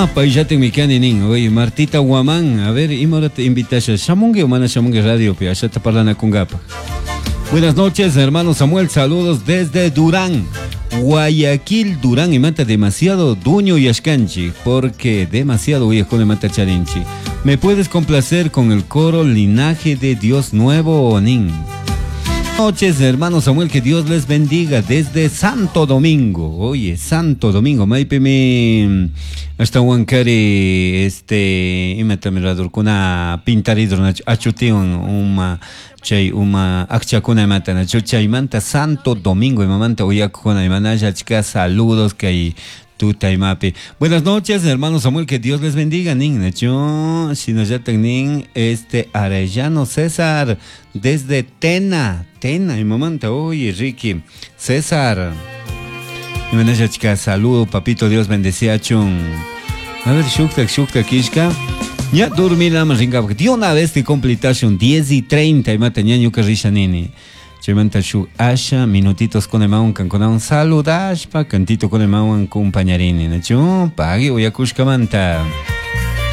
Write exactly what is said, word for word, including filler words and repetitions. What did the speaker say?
Ah, payllatin mikani nin. Oye, Martita Guamán, a ver, ima hora te invitasha. Shamungi o mana shamungi radio pi, ashata parlanakunkapaj. Buenas noches, hermano Samuel, saludos desde Durán. Guayaquil, Durán, y mata demasiado duño y ashkanchi, porque demasiado con mata charinchi. ¿Me puedes complacer con el coro Linaje de Dios Nuevo, nin? Noches, hermano Samuel, que Dios les bendiga desde Santo Domingo. Oye, Santo Domingo, maipimi hasta Huancari, este, imata miradorkuna pintaridor achutiwan uma chay uma akchakuna imata nachu chaymanta Santo Domingo imamanta uyakukuna imanalla achka saludos kay tuta imapi. Buenas noches, hermano Samuel, que Dios les bendiga, nin, nachu, shinallatak nin, este, Arellano César, desde Tena, Tena, imamanta, oye, Ricky, César, imanalla achka saludo, papito, Dios bendeciachun. A ver, shuktak, shuktak, kishka. Ya dormirama ringapaj. De una vez te completación diez y treinta imata ñañuka risha nini. Chaymanta shuk asha minutitos con emawan kankunawan saludashpa cantito con emawan compañarini. Nachu, pagui uyakushkamanta.